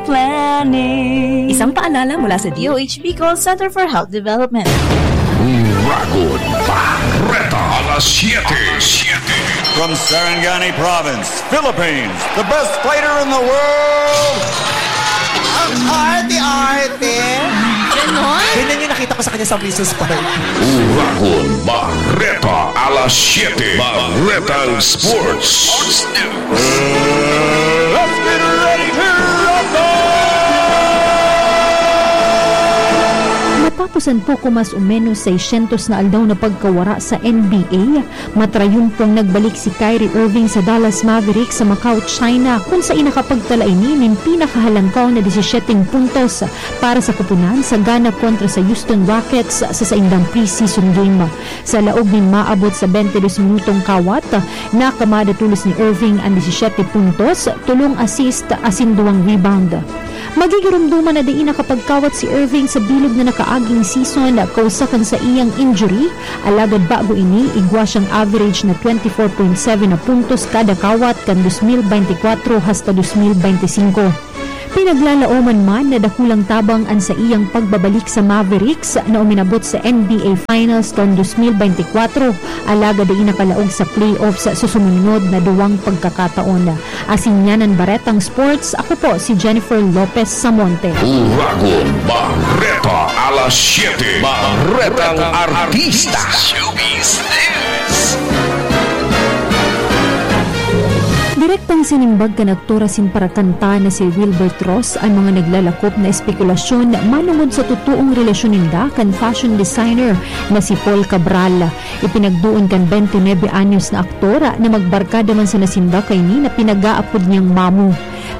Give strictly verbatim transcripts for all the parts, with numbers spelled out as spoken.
Planning. Isang paalala mula sa D O H Bicol Center for Health Development. Uragon Bareta, alas siyete. From Sarangani Province, Philippines, the best fighter in the world. Ang arte-arte. Ganon? Ganyan yung nakita ko sa kanya sa Princess Park. Uragon Bareta, alas siyete. Baretang Sports. Let's get ready to rumble! Matapos ang poko mas o menos seiscientos na aldaw na pagkawara sa N B A, matrayumpong nagbalik si Kyrie Irving sa Dallas Mavericks sa Macau, China, kun saen nakapagtala ini nin pinakahalangkaw na disisyete puntos para sa koponan sa gana kontra sa Houston Rockets sa saindang preseason game. Sa laog nin maabot sa twenty-two minutong kawat, nakamada tolos ni Irving an disisyete puntos, tolong assist asin duwang rebound. Magigiromdoman na dai nakapagkawat si Irving sa bilog na nakaaging season kausa kan saiyang injury, alagad bago ini, igwa siyang average na twenty-four point seven na puntos kada kawat kan dos mil bente kwatro hasta dos mil bente singko. Pinaglalaoman man na dakulang tabang an saiyang pagbabalik sa Mavericks na uminabot sa N B A Finals kan dos mil bente kwatro, alagad dai nakalaog sa playoffs sa sumunod na duwang pagkakataon. Asin yan an Baretang Sports, ako po si Jennifer Lopez Samonte. Uragon Bareta, alas siyete, Baretang Artista. Showbiz News. Direktang sinimbag kan aktor asin parakanta na si Wilbert Ross an mga naglalakop na espekulasyon manongod sa totoong relasyon ninda kan fashion designer na si Paul Cabral. Ipinagdoon kan twenty-nine anyos na aktor na magbarkada man sana sinda kaini na pinag-aapod niyang Mamu.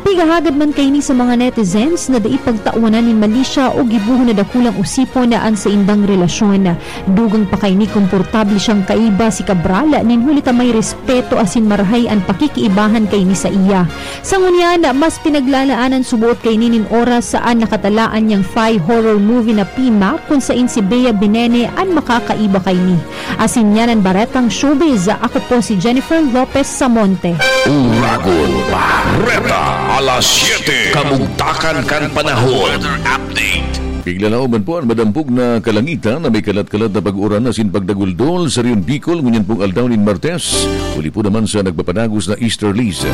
Pigahagad man kaini sa mga netizens na dai pagtawanan nin malisya o gibohon na dakulang osipon na an saindang relasyon. Dugang pa kaini, komportable siyang kaiba si Cabral nin huli ta may respeto asin marahay an pakikiibahan kaini saiya. Sa ngunyan, mas pinaglalaanan suboot kaini nin oras sa an nakatalaan niyang Thai horror movie na Pimak, kun saen si Bea Binene an makakaiba kaini. Asin yan an Baretang Showbiz. Ako po si Jennifer Lopez Samonte. Uragon Bareta, alas siyete, kamugtakan kan panahon. Weather update. Piglalaoman po an madampog na kalangitan na may kalat-kalat na pag-uran asin pagdaguldol sa Rehiyon Bicol ngunyan pong aldaw nin Martes. Huli po naman sa nagpapadagos na easterlies.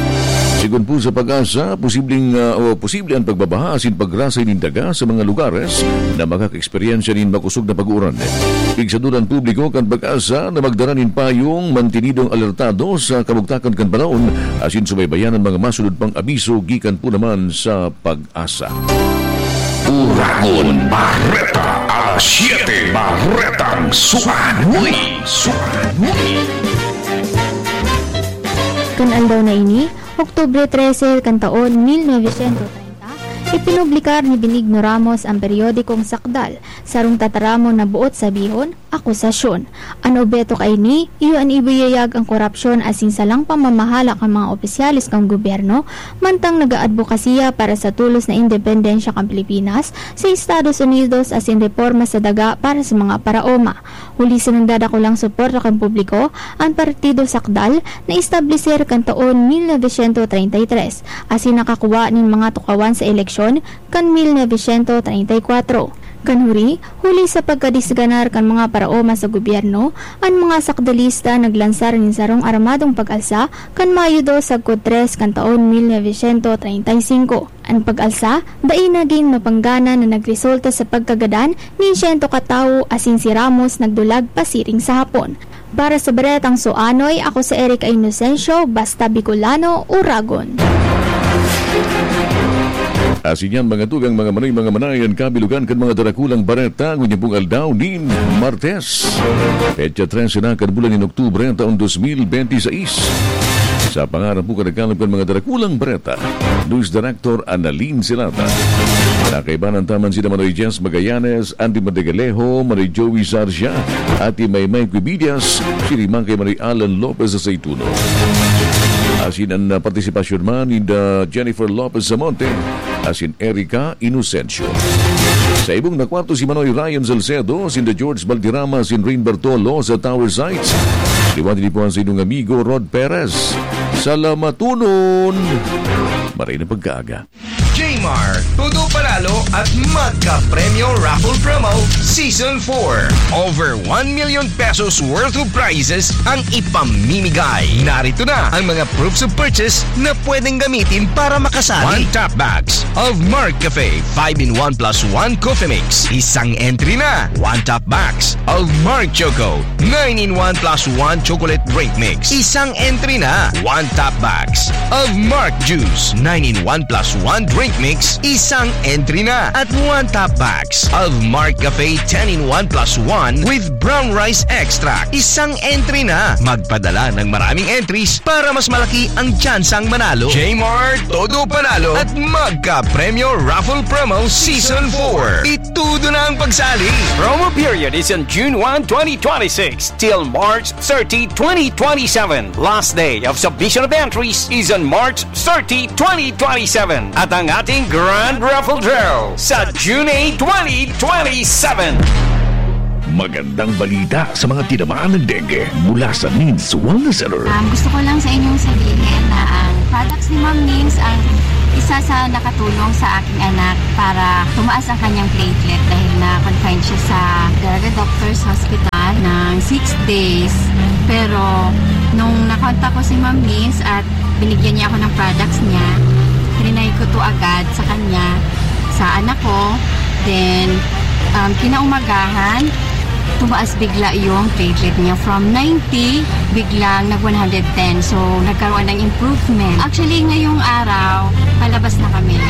Sigon po sa PAGASA, posibleng, ah, o posible an pagbabaha asin pagrasay nin daga sa mga lugares na makaka-eksperyensya nin makosog na pag-uran. Pigsaduran publiko kan PAGASA na magdara nin payong, mantenidong alertado sa kamugtakan kan panahon asin subaybayan an mga masunod pang abiso gikan po naman sa PAGASA. Uragon Bareta, alas siyete, Baretang Suanoy. Suanoy. Kan aldaw na ini, Oktubre trese kan taon mil novecientos treinta, ipinublicar ni Benigno Ramos an periodikong Sakdal, sarong tataramon na boot sabihon, akusasyon. An obheto kaini, iyo an ibuyayag an korapsyon asin salang pamamahala kan mga opisyales kan gobyerno, mantang nag-aadbokasiya para sa tolos na independensya kan Pilipinas sa Estados Unidos asin reporma sa daga para sa mga paraoma. Huli sa nagdadakulang suporta kan publiko, an Partido Sakdal naestableser kan taon mil novecientos treinta y tres, asin nakakuha nin mga tukawan sa eleksyon kan mil novecientos treinta y kwatro. Kan huri, huli sa pagkadisganar kan mga paraoma sa gobyerno, an mga Sakdalista naglansar nin sarong armadong pag-alsa kan Mayo dos sagkod tres kan taon mil novecientos treinta y singko. An pag-alsa, dai nagin mapanggana na nagresulta sa pagkagadan nin siyento ka tawo asin si Ramos nagdulag pasiring sa Hapon. Para sa Baretang Suanoy, ako si Erica Inocencio, basta Bicolano, Uragon. Asin yan, mga tugang, mga manoy, mga manay, an kabilugan kan mga darakulang bareta ngunyan pong aldaw nin Martes, petsa trese na kan bulan nin Oktubre, taon dos mil bente seis. Sa pangaran po kan nagkalap kan mga darakulang bareta, News Director Annalyn Silata. Nakaibanan ta man sina Manoy Jess Magallanes, Andy Madagalejo, Manoy Joey Sarcia, Ate Maymay Cubillas, sirang kay Manoy Alan Lopez sa Saituno. Asin an, ah, partisipasyon man ni, ah, Jennifer Lopez Samonte, asin Erica Inocencio. Sa ibong na kwarto si Manoy Ryan Salcedo, sinda George Valderrama, sin Rain Bartolo sa Tower Sites. Liwat din po ang sa inyong amigo Rod Perez. Salamaton! Maray na pagkaaga. Jmar Todo Panalo at Magka Premyo Raffle Promo Season four. Over one million pesos worth of prizes ang ipamimigay. Narito na ang mga proofs of purchase na pwedeng gamitin para makasali. One top bags of Mark Cafe five-in-one plus one Coffee Mix. Isang entry na. One top bags of Mark Choco nine-in-one plus one Chocolate Drink Mix. Isang entry na. One top bags of Mark Juice nine-in-one plus one Drink Mix. Isang entry na. At one top bags of Mark Cafe ten-in-one plus one with Brown Rice Extract. Isang entry na. Magpadala ng maraming entries para mas malaki ang tsansang manalo. J-Mart, Todo Panalo at Magka Premyo Raffle Promo Season four. Itudo na ang pagsali! Promo period is on June one, twenty twenty-six till March thirty, twenty twenty-seven. Last day of submission of entries is on March thirty, twenty twenty-seven. At ang ating Grand Raffle Draw sa June eight, twenty twenty-seven. Magandang balita sa mga tinamaan ng dengue mula sa Needs Wellness Center. Um, gusto ko lang sa inyong sabihin na ang products ni Ma'am Needs ang isa sa nakatulong sa aking anak para tumaas ang kanyang platelet dahil na-confine siya sa Daraga Doctors Hospital ng six days. Pero nung nakontak ko si Ma'am Needs at binigyan niya ako ng products niya, trinay ko to agad sa kanya, sa anak ko. Then, um, kinaumagahan, tumaas bigla yung platelet niya. From ninety, biglang nag one hundred ten. So, nagkaroon ng improvement. Actually, ngayong araw, palabas na kami.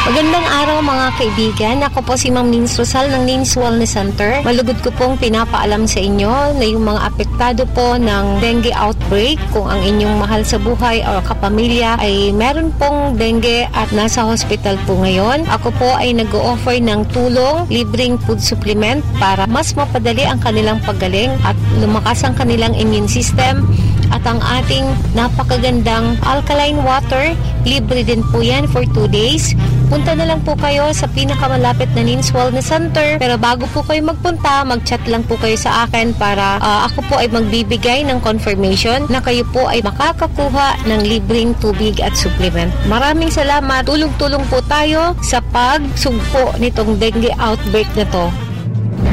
Magandang araw, mga kaibigan. Ako po si Ma'am Nins Rosal ng Nins Wellness Center. Malugod ko pong pinapaalam sa inyo na yung mga apektado po ng dengue outbreak, kung ang inyong mahal sa buhay o kapamilya ay meron pong dengue at nasa hospital po ngayon, ako po ay nag-o-offer ng tulong, libreng food supplement para mas mapadali ang kanilang paggaling at lumakas ang kanilang immune system. At ang ating napakagandang alkaline water, libre din po yan for two days. Punta na lang po kayo sa pinakamalapit na Nins Wellness Center. Pero bago po kayo magpunta, mag-chat lang po kayo sa akin para, ah, ako po ay magbibigay ng confirmation na kayo po ay makakakuha ng libreng tubig at supplement. Maraming salamat. Tulong-tulong po tayo sa pagsugpo nitong dengue outbreak na 'to.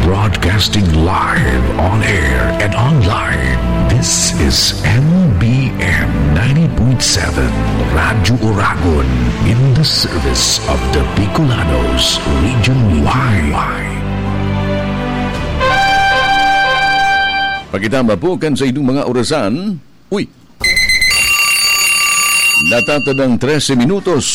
Broadcasting live, on air, and online. This is M B M ninety point seven Radyo Oragon, in the service of the Bicolanos, Region Y. Pagkitama po kan sa inyong mga orasan, uy! Natatadang trese minutos,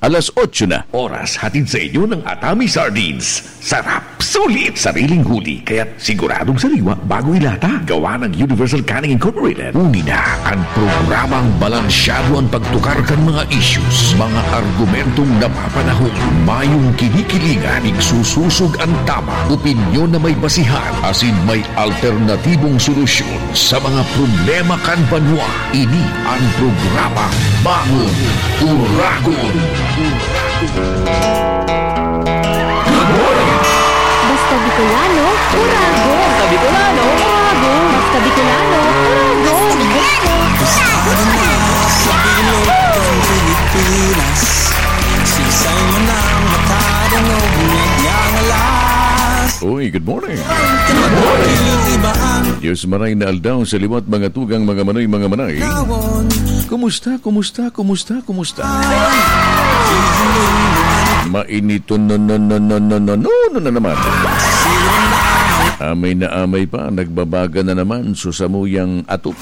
alas otso na. Oras hatid sa inyo ng Atami Sardines. Sarap, sulit, sariling huli, kaya't siguradong sariwa bago ilata. Gawa ng Universal Canning Incorporated. Uli na ang programang balansyado ang pagtukar kan mga issues, mga argumentong napapanahon, mayong kinikilingan, igsususog ang tama, opinyon na may basihan, asin may alternatibong solusyon sa mga problema kan banwa. Ini ang programa Bangon Oragon. Basta Bicolano, Oragon! Basta Bicolano, Oragon! Basta Bicolano, Oragon! Sa bilog ng Pilipinas, siksay mo ng mata, danog, ngangalas. Uy, good morning. Good morning. Diyos maray na aldaw sa liwat, mga tugang, mga manoy, mga manay. Kumusta, kumusta, kumusta, kumusta? Mainiton no, no, no, no, no, no, no, no na naman. Amay na amay pa, nagbabaga na naman so samuyang atop.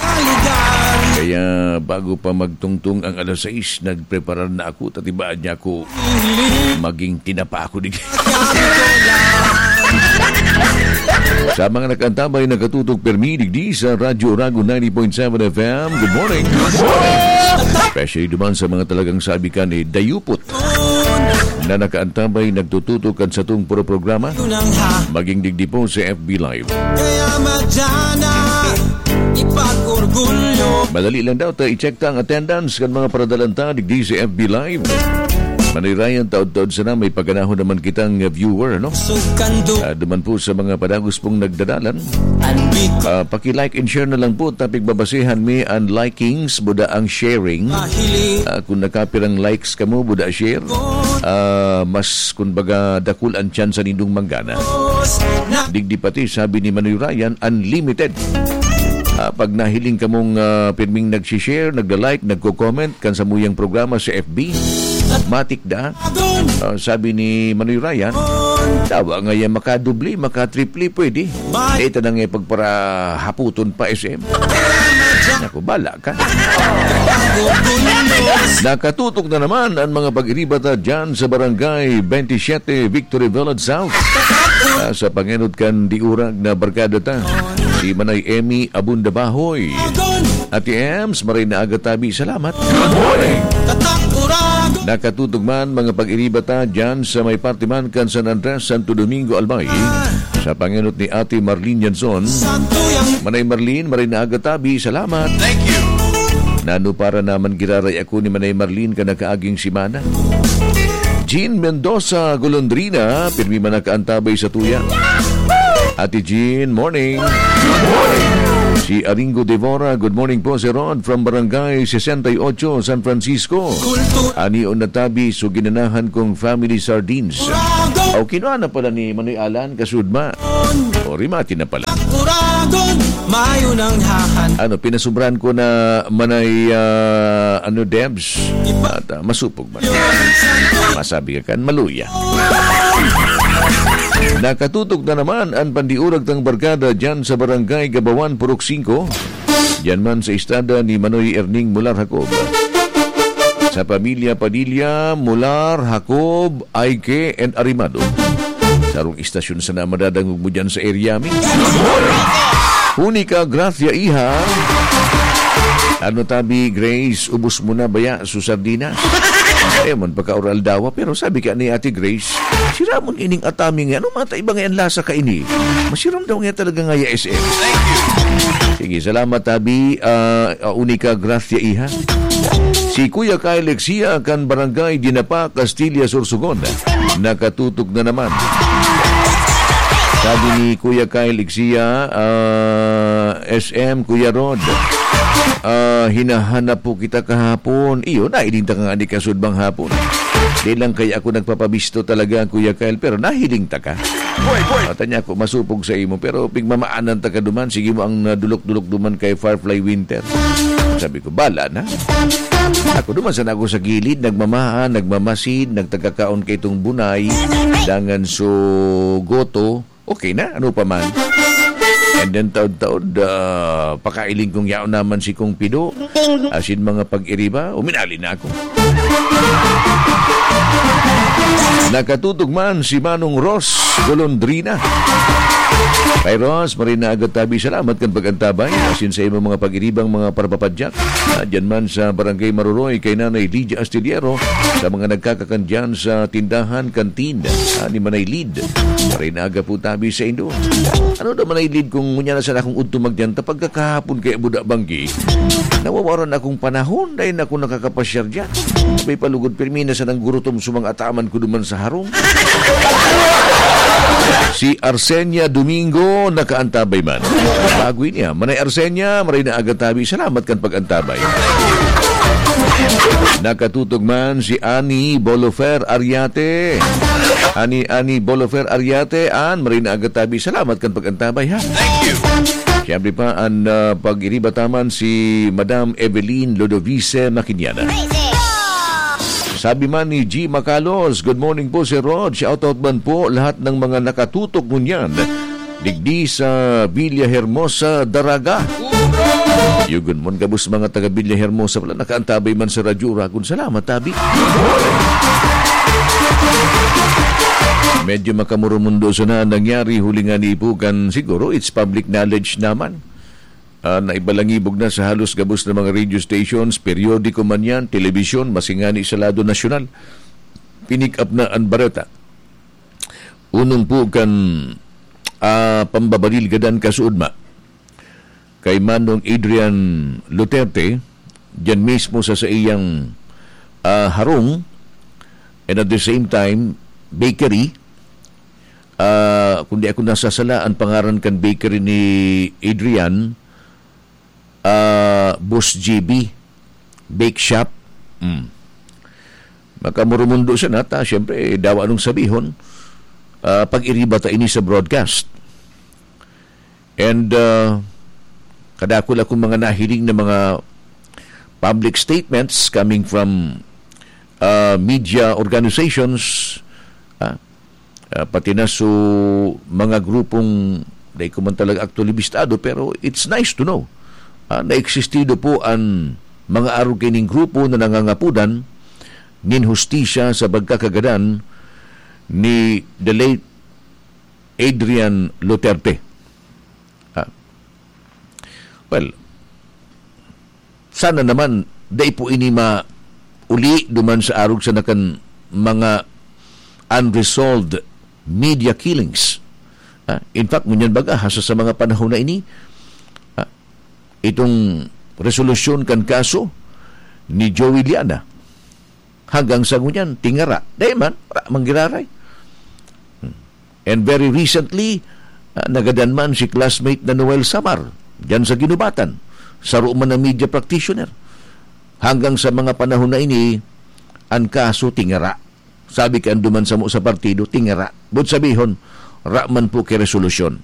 Kaya bago pa magtungtong ang alas sais, nagpreparar na ako, tatibaan niya ako. Maging tinapa ako di. Sa mga nakaantabay, nakatutok permi digdi sa Radyo Oragon ninety point seven F M, good morning. Especially duman sa mga talagang sabi ka ni dayupot na nakaantabay, nagtututok kan satong puro programa. Maging digdi po sa F B Live. Kaya madya na ipag-orgulyo. Madali lang daw ta i-check ta ang attendance kan mga paradalan ta digdi sa F B Live. Manoy Ryan, taod-taod sana may paganahon naman kitang, uh, viewer, ano? Sugkando. Ah, duman po sa mga padagos pong nagdadalan. Anbiko. Ah, paki-like and share na lang po. Tapig babasehan mi an likings, buda ang sharing. Mahiling. Ah, kung nakapirang likes kamo, buda share. Ah, mas, kumbaga, dakul ang tsansa nindong manggana. Na. Digdi pati, sabi ni Manoy Ryan, unlimited. Ah, pag nahiling kamong, ah, pirming nagsishare, nagla-like, nagko-comment, kan samuyang programa sa F B, matik da. Ah, sabi ni Manoy Ryan, "Tawa nga yan, makadubli, makatripli, pwede. Dito na nga pagparahaputon pa, S M." Naku, bala ka. Nakatutok na naman ang mga pag-iribata dyan sa Barangay twenty-seven, Victory Village South. Ah, sa pangenot kan diurag na barkada ta, si Manay Emmy Abunda Bahoy. Ate Ems, maray na aga tabi. Salamat. Good morning. Nakatutok man, mga pag-iriba ta, dyan sa may parte man kan San Andres, Santo Domingo, Albay. Sa pangenot ni Ate Marlene Yanson. Manay Marlene, maray na aga tabi. Salamat. Thank you. Nano para naman giraray ako ni Manay Marlene kan nakaaging semana. Jean Mendoza Golondrina, pirmi man nakaantabay sa tuya. Ate Jean, morning. Good morning. Si Aringo Devora, "Good morning po, Sir Rod, from Barangay sesenta y ocho, San Francisco." Kultura. Ani on natabi, so ginanahan kong family sardines. Uragon. O, kinuha na pala ni Manoy Alan, kasudma. O, rimati na pala. Uragon, mayo nang hahan. Ano, pinasubran ko na Manay, ah, ano, Debs? Ipa- At, ah, masupog. Masabi ka kan maluya. Nakatutok na naman an pandiurag tang barkada dyan sa Barangay Gabawan, Purok singko. Dyan man sa istada ni Manoy Erning Mular Jacob. Sa pamilya Padilla, Mular, Jacob, Aike, and Arimado. Sarong istasyon sana madadangog mo dyan sa area mi. Unica Gracia, iha. Ano tabi, Grace, ubos mo na baya su sardinas? Eh, man pagka-oral dawa, pero sabi ka ni Ate Grace, "Siramon ining atami nga, ano mata iba nga yan lasa ka ini? Masiram daw nga talaga nga ya S M." Sige, salamat tabi, ah, ah, Unica Gracia, iha. Si Kuya Kyle Lexia kan Barangay Dinapa, Castilla, Sorsogon. Nakatutok na naman. Sabi ni Kuya Kyle Lexia, ah, "S M, Kuya Rod, ah, hinahanap po kita kahapon." Iyo, nahiling ta ka nga ni kasudbang hapon. Di lang kaya ako nagpapabisto talaga, Kuya Kyle, pero nahiling ta ka. Boy, boy. At niya ako, masupog sa imo, pero pigmamaanan ta ka duman, sige mo ang, ah, dulok-dulok duman kay Firefly Winter. Sabi ko, "Bala na." Ako duman sana ako sa gilid, nagmamahan, nagmamasid, nagtagkakaon kay itong bunay, dangan so goto, okay na, ano pa man. And then taod-taod, ah, pakailing kong yaon naman si Kong Pido. Asin mga pag-iriba, uminali na ako. Nakatutok man si Manong Ross Golondrina. Kay Ross, maray na aga tabi, salamat kan pag-antabay. Asin sa imong mga pag-iribang mga parapapadyak. Ah, dyan man sa Barangay Maruroy, kay Nanay Lydia Astillero, sa mga nagkakakan dyan sa tindahan, kantin, ah, ni Manay Lid. Maray na aga po tabi sa indo. Ano daw, Manay Lid, kung ngunyan na sana akong udto magdiyan, ta pagkakahapon kaya buda banggi, nawawaran akong panahon, dahil ako nakakapasyar dyan. May palugod, pirmi na sanang gurutom sa mga ataman ko duman sa harong. Si Arsenia Domingo, nakaantabay man. Bago niya. Manay Arsenia, maray na aga tabi. Salamat kan pag-antabay. Nakatutok man si Ani Bolofer Ariate. Ani, Ani Bolofer Ariate, an, maray na aga tabi. Salamat kan pag-antabay, ha? Thank you. Siyempre pa, an, ah, pag-iriba taman si Madam Evelyn Lodovice Maquinana. Sabi man ni G Macalos, "Good morning po, Sir Rod. Shout out man po lahat ng mga nakatutok ngunyan. Digdi sa Villa Hermosa, Daraga." Yugon mon gabos mga taga Villa Hermosa pala, nakaantabay man sa Radyo Uragon. Salamat, tabi. Medyo makamurumundo sana nangyari huli nga ni Ipugan. Siguro, it's public knowledge naman. Ah, naibalangibog na sa halos gabos na mga radio stations, periodiko man yan, telebisyon, masingani sa lado nasyonal. Pinick up na ang bareta. Unong po kan, ah, pambabalil gadan kasuodma kay Manong Adrian Luterte, diyan mismo sa saiyang, ah, harong, and at the same time, bakery. Ah, kung di ako nasasala, ang pangaran kan bakery ni Adrian, ah, Boss G B, Bake Shop. Mm. Makamurumundo siya na, ta, siyempre, dawa nung sabihon, ah, pag-iriba ta ini sa broadcast. And, ah, kadakul akong mga nahiling na mga public statements coming from, ah, media organizations, ah, ah, pati na so mga grupong, dai ko man talaga aktualibistado, pero it's nice to know, ah, na existido po an mga arog kining grupo na nangangapodan nin hustisya sa pagkakagadan ni the late Adrian Luterte. Ah. Well, sana naman, dai po ini mauli duman sa arog sa nakan mga unresolved media killings. Ah, in fact, ngunyan baga, hasta sa mga panahon na ini, ah, itong resolusyon kan kaso ni Joey Liana, hanggang sa ngunyan, tingara. Dai man, wala man giraray. Hmm. And very recently, ah, nagadan man si classmate na Noel Samar, diyan sa Guinobatan. Saro man na media practitioner. Hanggang sa mga panahon na ini, ang kaso tingara. Sabi kan duman samo sa partido, tingara. But sabihon, ra man po ki resolusyon.